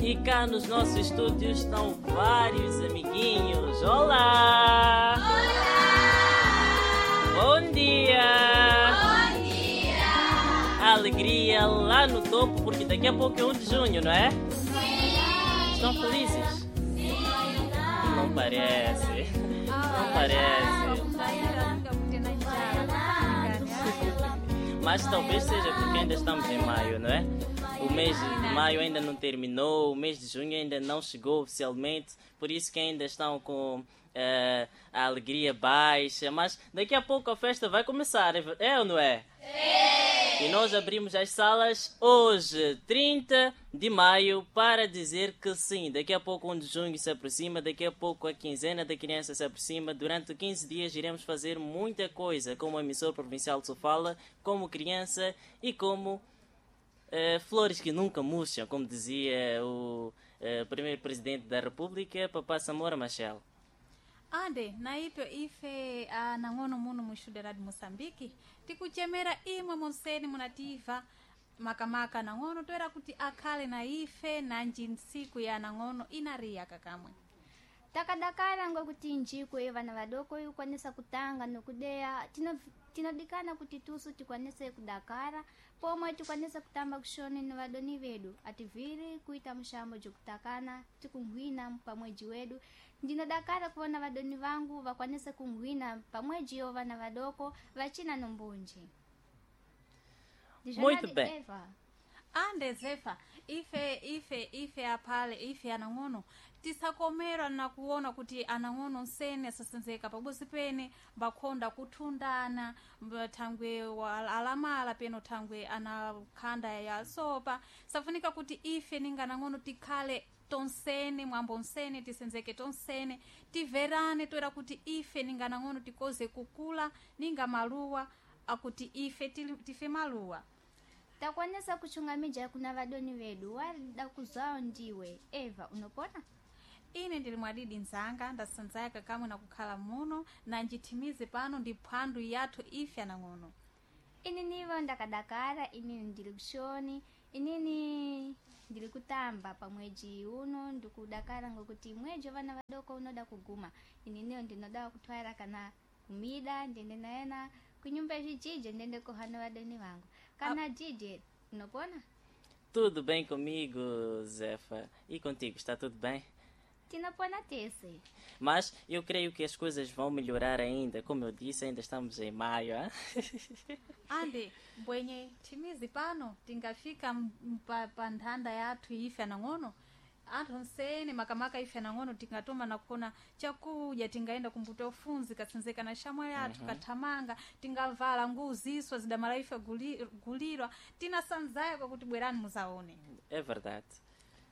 E cá nos nossos estúdios estão vários amiguinhos. Olá! Olá! Bom dia! Bom dia! Alegria lá no topo, porque daqui a pouco é 1 de junho, não é? Sim! Estão felizes? Sim! Não parece. Não parece. Mas talvez seja porque ainda estamos em maio, não é? O mês de maio ainda não terminou, o mês de junho ainda não chegou oficialmente, por isso que ainda estão com a alegria baixa. Mas daqui a pouco a festa vai começar, é ou não é? É! E nós abrimos as salas hoje, 30 de maio, para dizer que sim, daqui a pouco 1 de junho se aproxima, daqui a pouco a quinzena da criança se aproxima. Durante 15 dias iremos fazer muita coisa, como emissor provincial de Sofala, como criança e como flores que nunca murcham, como dizia o primeiro presidente da República, Papá Samora Machel. Ande naipyo ife anang'ono muno muxudera de Moçambique tikuchemera imwe monseni munativa makamaka nang'ono toera kuti akhale na ife nanji ntsiku ya nang'ono inariya kakamwe. Takadakala ngokuti njiku iyo vana vadoko ikwanisa kutanga nokudeya tinodikana kuti tusu tikwanise kudakara pomwe tikwanise kutamba kushoni ni vadoni vedu ativhiri kuita mushambo jokutakana tikunghwina pamweji wedu. Ndinodakara kuona vadoni vangu vakwanise kunghwina pamweji yo vana vadoko vachina nombunji. Muito bem. Eva. Ande Zefa, ife ife ife aphale ife anang'ono tisakomerwa na kuona kuti anang'ono nsene asasenzeka pabosi pene mbakhonda kuthundana thangwe alamala peno thangwe anakhanda ya sopa. Safunika kuti ife ninga anang'ono tikhale tonsene mwambo nsene tisenzeke tonsene tiverane toera kuti ife ninga anang'ono tikoze kukula ninga maluwa akuti ife tife maluwa. Takwanisa kuchungamija kuna vadoni vedu warida kuzwawo ndiwe Eva, unopona? Ine ndili mwadidi nzanga ndasanzaya kakamwe na kukhala muno na njithimize pano ndi phwandu yathu ife anang'ono. Ininivo ndakadakara, inini ndili kushoni, inini ndili kutamba pamweji uno ndikudakara ngokuti mweji wa vana vadoko unoda kuguma. Ininiyo ndinoda kutwara kana kumida ndiende nayena kunyumba zvijijo ndiende kohana vadoni vangu. Kana DJ, unopona? Tudo bem comigo, Zefa. E contigo, está tudo bem? Tinopona tese. Mas eu creio que as coisas vão melhorar ainda. Como eu disse, ainda estamos em maio. Hein? Ande, mbwenye timizi pano tingafika pa nthanda yathu ife anang'ono. Anthu nsene makamaka ife anang'ono tingatoma nakuona chakudya, tingaenda kumbuto ufunzi katsenzeka na shamwa yathu kathamanga, tingavala nguziso zidamala ife gulirwa tinasanzaya kwakuti bwerani muzaone. É verdade.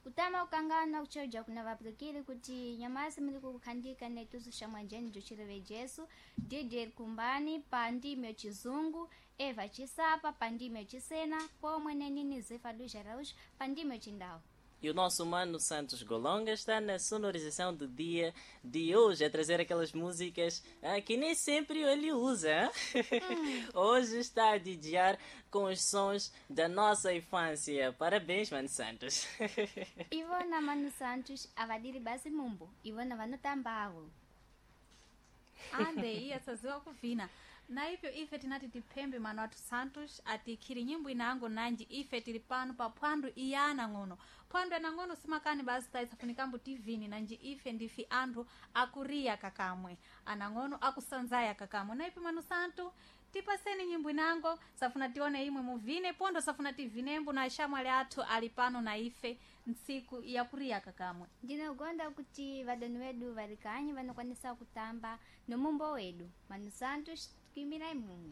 Kutama ukangana kuchoja kuna vapulukili kuti nyamasi muli kukhandika netusu shamwa jeni juchileve Jesu DJ kumbani pa ndimi yachizungu Eva Chisapa pa ndimi yachisena pomwe nenini Zefa do Jaraújo pa ndimi yachindau. E o nosso mano Santos Golonga está na sonorização do dia de hoje, a trazer aquelas músicas que nem sempre ele usa. Hoje está a DJar com os sons da nossa infância. Parabéns, mano Santos. Ivona mano Santos, avadiri basi mumbo. Ivona vanotambavo. Ande, iya saziwa kuvina. Na ipyo ife tinati tiphembe mano athu Santos atikhiri nyimbo inango nanji ife tili pano pa phwandu iyana ng'ono. Phwandu yanang'ono simakani basi taisafunikambo tivini nanji ife ndifi anthu akuriya kakamwe anang'ono akusanzaya kakamwe. Na ipyo mano Santo tipaseni nyimbo inango safuna tione imwe muvine pondo safuna tivinembo na shamwali athu ali pano na ife ntsiku yakuriya kakamwe. Ndinogonda kuti vadoni vedu vari kanyi vanokwanisa kutamba nomumbo wedu. Mano Santos kuimirai mumwe.